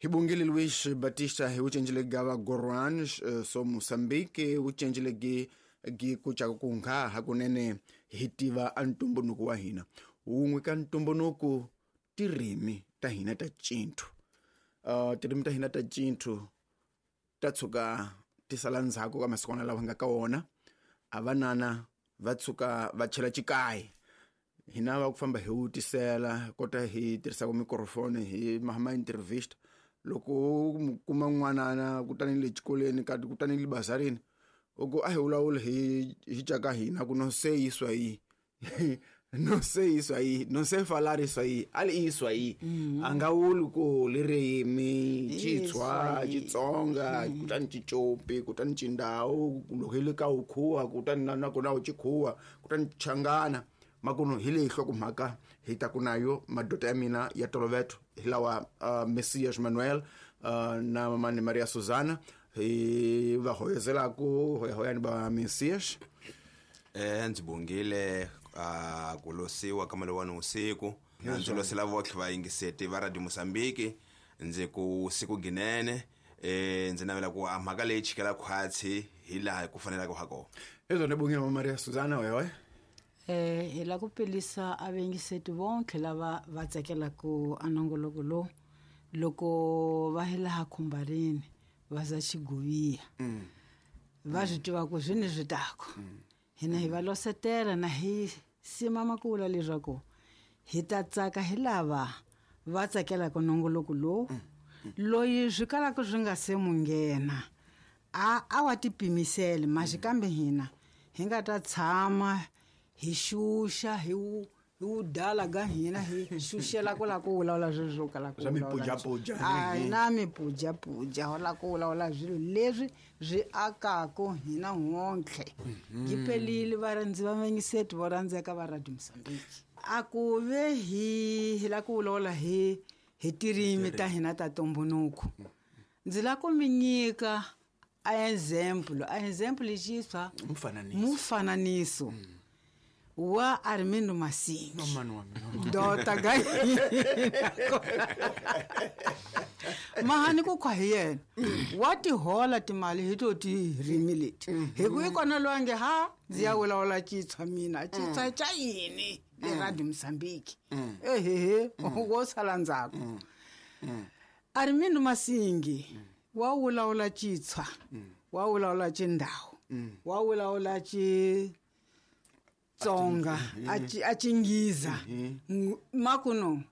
Hi bongile Luis Batista hi wucencile gava Goran so Mozambique wucencile gi gi kucaka ku nga hakunene hi tiva a ntumbuluko wa hina wun'we ka ntumbuluko tirimi ta hina ta cinthu tirimi ta hina ta cinthu ta tshuka ti sala ndzhaku ka masikwana lawa nga ka wona a vanana va tshuka va chela xikayi hina va ku famba hi wutisela kota hi tirhisaka mikrofoni hi ma intervista loko u kuma n'wanana kutani le xikolweni kati kutani le bazarini u ku a hi vulavuli hi caka hina ku no se isso aí no sei isso aí não sei falar isso aí ali isso aí a nga vuli ku lirimi Xitshwa Xitsonga kutani Xicopi kutani Xindau loko hi le ka Ukhuwa kutani na nakona Xikhuwa kutani Changana makuno hi leyi nhlokomhaka hi ta ku nayo madoda ya mina ya toloveto hi lawa Messias Manuel na mamani Maria Susana hi va hoyozelaku hoyahoyani va Messias. Ndzi bongile ku losiwa ka malowani usiku na ndzi losela votlhe vayingiseti va Radio Mozambique ndzi ku siku ginene ndzi navela ku a mhaka leyi chikela khwatsi hi laha ku fanelaka ha kona. Hezwo ni bongile mama Maria Susana hoyahoya. Hi la ku pelisa a vayingiseti vonke lava va tsakelaka a nongoloko lowu loko va hi laha khumbarini va za xiguviya va swi tiva ku swi ni swi tako hina hi va losetela na hi sima makula leswaku hi ta tsaka hi lava va tsakelaka nongoloko lowu loyi swi kalaka swi nga se mu nghena a wa tipimisele maxi kambe hina hi nga ta tshama hi xuxa hi wu dala ga hina hi xuxela ku la ku vulavula swilo swo kala ku Swa mipujapuja. A hi na mipujapuja ho la ku vulavula swilo leswi swi akaka hina hontlhe yi pelile varhandzi va vayingiseti vo rhandzeka va Radio Mozambique a ku ve hi la ku vulavula hi tirimi ta hina ta ntumbuluko ndzi la ku mi nyika a example a example xiswa mufananiso wa Armindo Masingi dota ga mahani ku khwa hi yena wa tihola timali hi to tirimi leti hi ku i kona loyi a nge ha ndzi ya vulavula Xitswa mina Xitswa xa yini le Radio Mozambique ehehe wo sala ndzhaku Armindo Masingi wa vulavula Xitswa wa vulavula Xindau wa vulavula Xitsonga a Xingiza makuno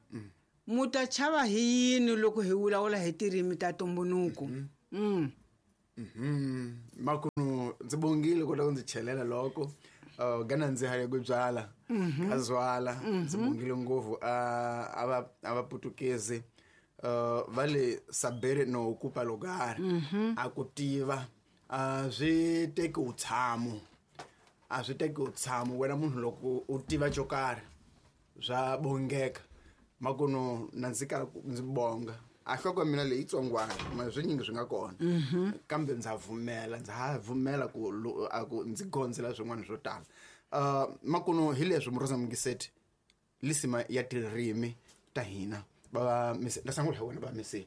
mu ta chava hi yini loko hi vulavula hi tirimi ta ntumbuluko. Makuno ndzi bongile kota ku ndzi chelela loko gana ndzi haya ku byala ka zwala ndzi bongile ngopfu a va Putukezi va le sabere no kupa lugar a ku tiva a swi teki utshamo a swi teki utshamo wena munhu loko u tiva xo karhi swa bongeka makuno na ndzi kala ndzi bonga a hloko ya mina leyi tsongwana ma swinyingi swi nga kona kambe ndza pfumela ndza ha pfumela ku a ku ndzi gondzela swin'wana swo tala makuno hi leswi Murosa Mungiseti lisima ya tirimi ta hina va na sangula hi wena va misi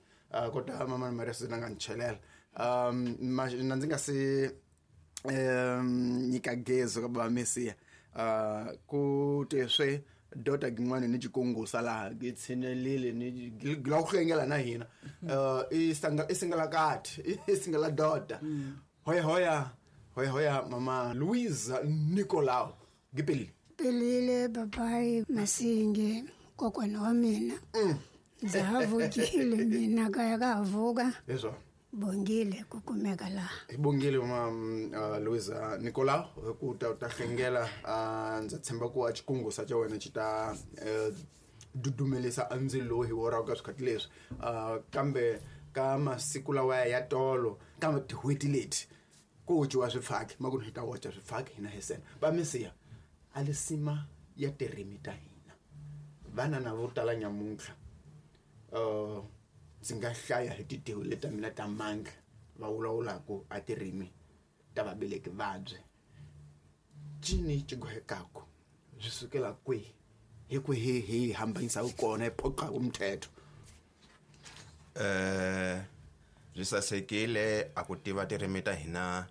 kota mama Maria Susana nga ni chelela na ndzi nga se nyika gezo ka va misiya ku te swe dota gin'wana ni xikungusa laha gi tshinelile ni la ku hlengela na hina i singala kati i singala dota hoya hoya hoya hoya mama Luisa Nicolau gipelile pelile babai Masingi kokwana wa mina ndza ha vukile mina kaya ka vuka hezwo bongile ku kumeka laha hi bongile mama Luisa Nicolau ku ta hlengela ndza tshemba ku a xikungusa xa wena xi ta dudumelisa a ndzilo lowu hi woraka ka swikhathi leswi kambe ka masiku lawa ya tolo ka tin'hweti leti ku wuciwa swifaki makuno hi ta woca swifaki hina hi sena va misiya a lisima ya tirimi ta hina vana na vo tala nyamuntlha ndzi nga hlaya hi titewu leta mina ta mandla va vulavulaka a tirimi ta vabeleki vabye cini xi gohekaku swi sukela kwihi hi kwihi hi hambanyisaka kona hi phoqaka mthetho. Byi sasekile a ku tiva tirimi ta hina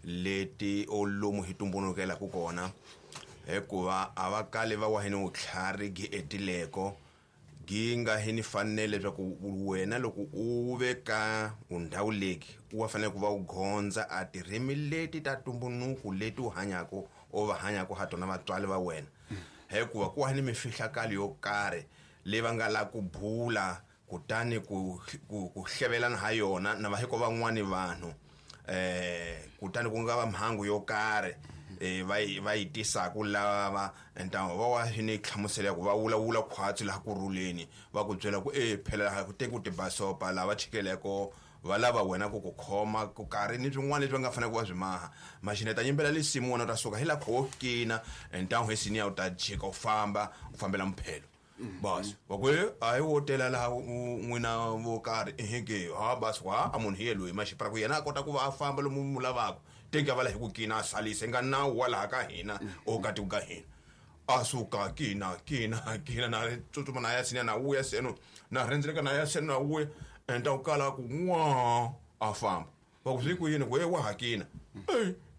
leti o lomu hi tumbulukelaku kona, hikuva a va kali va wa hi ni vutlhari gi etileko gi nga hi ni fanele leswaku wena loko u ve ka ndhawu leki u wa fanele ku va u gondza a tirimi leti ta tumbunuku leti u hanyako o va hanyako ha tona vatswari va wena, hikuva ku wa ni mifihlakalo yo karhi leyi va nga la ku bula kutani ku hlevelana ha yona na vahiko van'wani vanhu, kutani ku nga va mhangu yo karhi va yi tisaku lava ntamu va wa ni hlamusela ya ku va vulavula khwatsi laha ku rhuleni, va ku byela ku phela laha ku teki ku tibasopa lava chikeleko va lava wena ku ku khoma ku karhi ni swin'wana leswi va nga fanele ku va swi maha. Maxineta yimbela lisimu wena u ta suka hi laha kho kina ntamu hi siniya u ta jika u famba u fambela muphelo. Bas wa ku a hi wo tela laha n'wina vo karhi eheke ha bas wa a munhu hi ye loyi maxipra ku yena a kota ku va a famba lomu mu lavaka teki a va la hi ku kina a salise nga nawu wa laha ka hina o ka tiko ka hina. A suka kina kina kina na tsutsuma na ya sina na vuya seno na rhendzeleka na ya seno na vuya enta u kala ku n'wa a famba va ku swi ku yini ku wa ha kina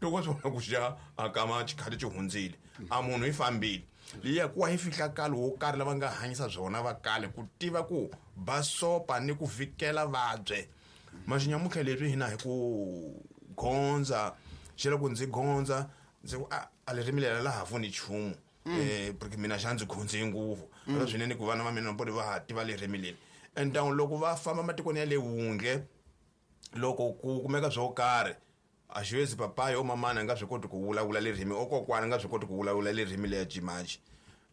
loko swi vona ku xa a kama xikhati xi hundzile a munhu yi fambile liya ku wa hi fihlakalo wo karhi lava nga hanyisa byona va kale ku tiva ku basopa ni ku vikela vabye. Maxinyamutlha leswi hina hi ku gondza xi loko ndzi gondza ndzi ku a ririmi leri laha pfuni nchumu, porque mina xa ndzi gondze ngopfu ra swinene ku vana va mina va va ha tiva ririmi leri. And loko va famba matikweni ya le wundle loko ku kumeka swo karhi a xiwezi papayi o mamana a nga swi koti ku vulavula ririmi o kokwana a nga swi koti ku vulavula ririmi leya cimaci,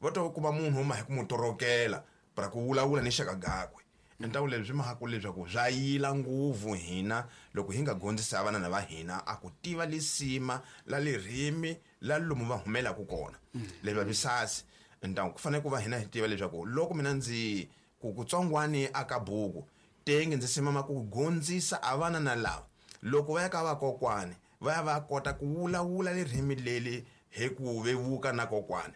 va to kuma munhu uma hi ku mu torokela para ku vulavula ni xaka gakwe. Ntawu leswi mahaku leswaku swa yila nguvu hina loko hi nga gondzisa vana va hina a ku tiva lisima la ririmi la lomu va humelaka kona leswi va sasi. Ntawu ku fanele ku va hina hi tiva leswaku loko mina ndzi ku kutsongwani aka buku tenge ndzi simama ku gondzisa a vana na lava loko va ya ka vakokwani va ya va kota ku vulavula ririmi leri hi ku vevuka na kokwani.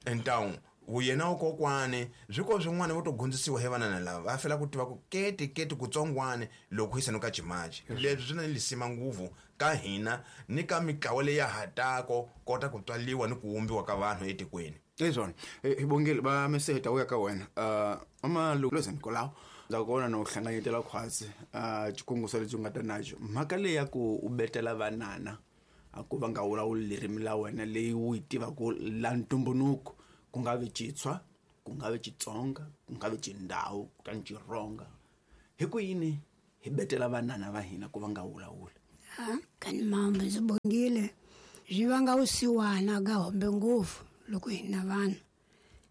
Ntawu yena kokwani swi ko swin'wana vo to gondzisiwa hi vana na lava va fela ku tiva ku keti keti kutsongwani loko hi seno ka cimaci. Leswi swi na lisima nguvu ka hina ni ka mitlawa leyi ya hatako kota ku tswaliwa ni ku wumbiwa ka vanhu etikweni. Ezona hi bongile va meseta u ya ka wena ama loko Nicolau ndza kona no hlanganyetela khwatsi xikunguso lexi u nga ta naxo mhaka leyi ya ku u betela vanana a ku va nga vulavuli ririmi la wena leyi u yi tivaka la ntumbunuko, ku nga vi Xitswa, ku nga vi Xitsonga, ku nga vi Xindhawu, kutani Xironga, hi ku yini hi betela vanana va hina ku va nga vulavuli? Kani mambo ndzi bongile swi vanga vusiwana ka hombe ngopfu loko hina vanhu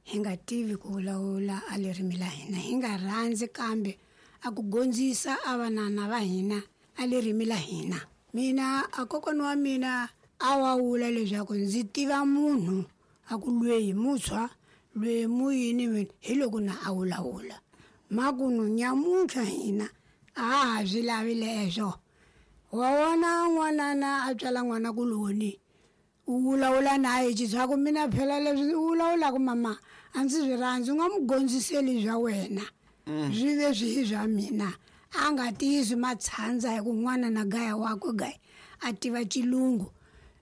hi nga tivi ku vulavula a ririmi la hina, hi nga rhandzi kambe a ku gondzisa a vanana va hina a ririmi la hina. Mina a kokwana wa mina a wa vula leswaku ndzi tiva munhu a ku lweyi mutshwa lweyi muyini mina hi loko na a vulavula makunu nyamuntlha hina a ha swi lavi leswo. Wa vona n'wanana a tswala n'wana kuloni u vulavula na ye xitswaku mina phela leswi u vulavulaka mama a ndzi swi rhandzi, u nga mu gondziseli swa wena swi ve swi swa mina. A nga tiyisi matshandza hi ku n'wana na gaya wakwe gaya a tiva xilungu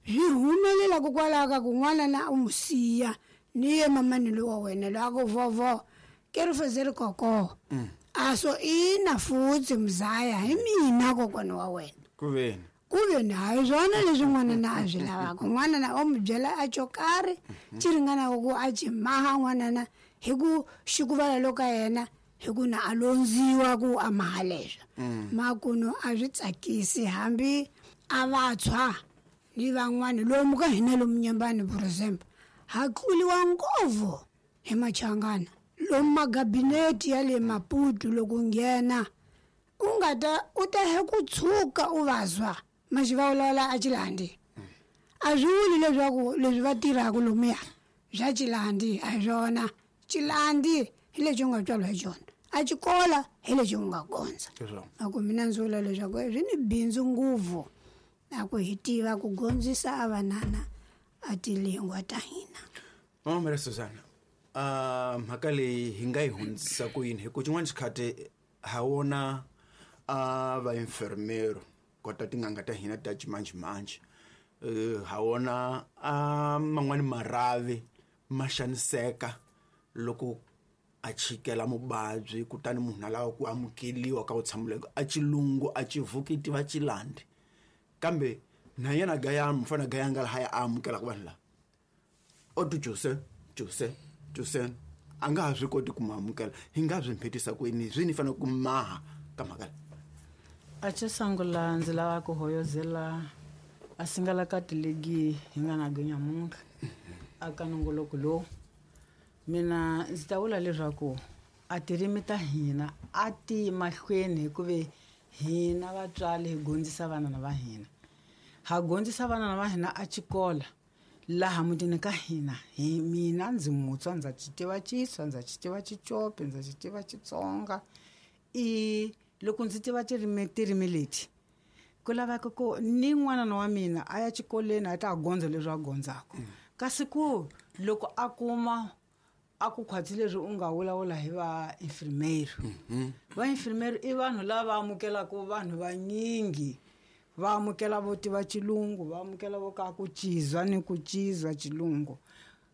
swi humelela kokwalaho ka ku n'wana na u mu siya ni ye mamani lowa wena loyi a ku vovo ke ri feze ri koko a so ina futsi mzaya hi mina kokwana wa wena ku ve hayi swona leswi n'wana na a swi lavaka. N'wana na o mu byela a xo karhi xi ringanaka ku a xi maha n'wanana hi ku xikuvala loko ka yena hi ku na a londziwa ku a maha leswo. Makuno a swi tsakisi hambi a vatshwa ni van'wani lomu ka hina lomu Nyembani for example ha tluliwa ngopfu hi machangana lomu magabineti ya le Maputo loko nghena u nga ta u ta he ku tshuka u vazwa maxivavulala a Xilandi. A swi vuli leswaku leswi va tirhaka lomuya bya Xilandi a hi swona. Xilandi hi lexi u nga tswariwa hi xona, a xikola hi lexi u nga gondza. A ku mina ndzi vula leswaku swi ni bindzu ngopfu a ku hi tiva ku gondzisa a vanana a tilingwa ta hina. Mama Maria Susana, mhaka leyi hi nga yi hundzisa ku yini hi ku xin'wana xikhati ha wona A va enfermero kota tin'anga ta hina ta ximanjhemanjhe, ha wona a man'wani marhavi ma xaniseka loko a chikela muvabyi, kutani munhu a lava ku amukeliwa ka vutshambuleko a xilungu a xivuki tiva xilandi, kambe na yena gaya mufana gaya nga lahaya a amukelaka vanhu lava o tu jose jose jose a nga ha swi koti ku mu amukela. Hi nga swi mphetisa kwini swi ni fanele ku maha ka mhaka leyi? A xo sungula ndzi lava ku hoyozela a singalakati legi hi nga na nyamuntlha aka nongoloko lowu. Mina ndzi ta vula leswaku a tirimi ta hina a ti mahlweni, hikuva hina vatswari hi gondzisa vanana va hina, ha gondzisa vanana va hina a xikola laha mutini ka hina. Hi mina ndzi mutswa, ndza xi tiva Xitswa, ndza xi tiva Xicopi, ndza xi tiva Xitsonga. I loko ndzi tiva tirimi leti, ku laveka ku ni n'wanana wa mina a ya xikolweni a ta gondza leswi a gondzaka. Kasi ku loko a kuma a ku khwatsi leswi u nga vulavula hi va infirmero, va infirmero i vanhu lava amukelaka vanhu vanyingi, va amukela vo tiva xilungu, va amukela vo ka ku cizwa ni ku cizwa xilungu.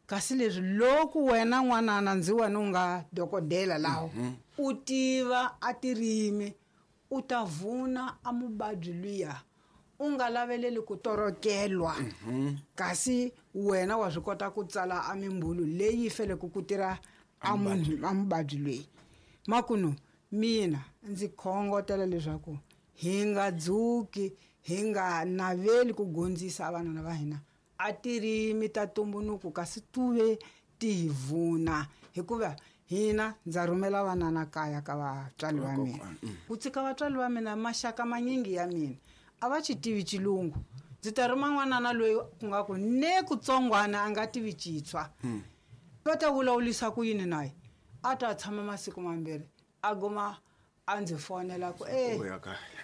Kasi leswi loko wena n'wanana ndzi wena u nga dokodela laho u tiva a tirimi, u ta vuna a muvabyi luya, u nga laveleli ku torokelwa. Kasi wena wa swi kota ku tsala a mimbulu leyi faneleke ku tirha a munhu a muvabyi loyi. Makunu mina ndzi khongotela leswaku hi nga dzuki, hi nga naveli ku gondzisa vanana va hina a tirimi ta tumbuluko, kasi tuve ti hi vuna. Hikuva hina ndza rhumela vanana kaya ka vatswari va mina, ku tshika vatswari va mina maxaka manyingi ya mina a va xi tivi xilungu. Ndzi ta rhuma n'wanana loyi ku nga ku ne kutsongwana a nga tivi Xitswa, va ta vulavulisa ku yini naye? A ta tshama masiku mambirhi a guma a ndzi fonela ku e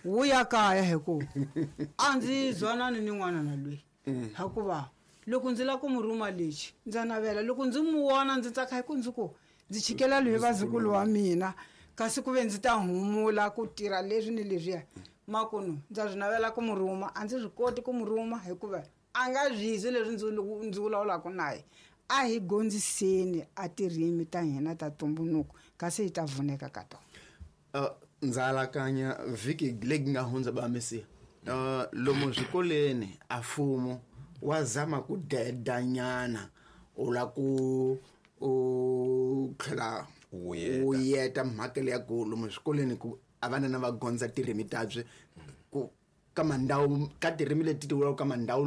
wu ya kaya, hi ku a ndzi zwanani ni n'wanana loyi. Hikuva loko ndzi lava ku mu rhuma lexi ndza navela, loko ndzi mu vona ndzi tsaka, hi ku ndzi ku ndzi chikela loyi vazukulu wa mina, kasi ku ve ndzi ta humula ku tirha leswi ni leswiya. Makunu ndza swi navela ku mu rhuma, a ndzi swi koti ku mu rhuma hikuva a nga zwizi leswi ndzi vulavulaka naye. A hi gondziseni a tirimi ta hina ta tumbuluko, kasi hi ta vuneka ka tona. Ndza alakanya vhiki leyi nga hundza ba mesiya, lomu swikolweni a mfumo wa zama ku dedanyana, u la ku u tlhela Wu wu yeta mhaka leya ku lomu swikolweni ku a vanana va gondza tirimi tabye ku ka mandhawu ka tirimi leti ti vulaka ka mandhawu.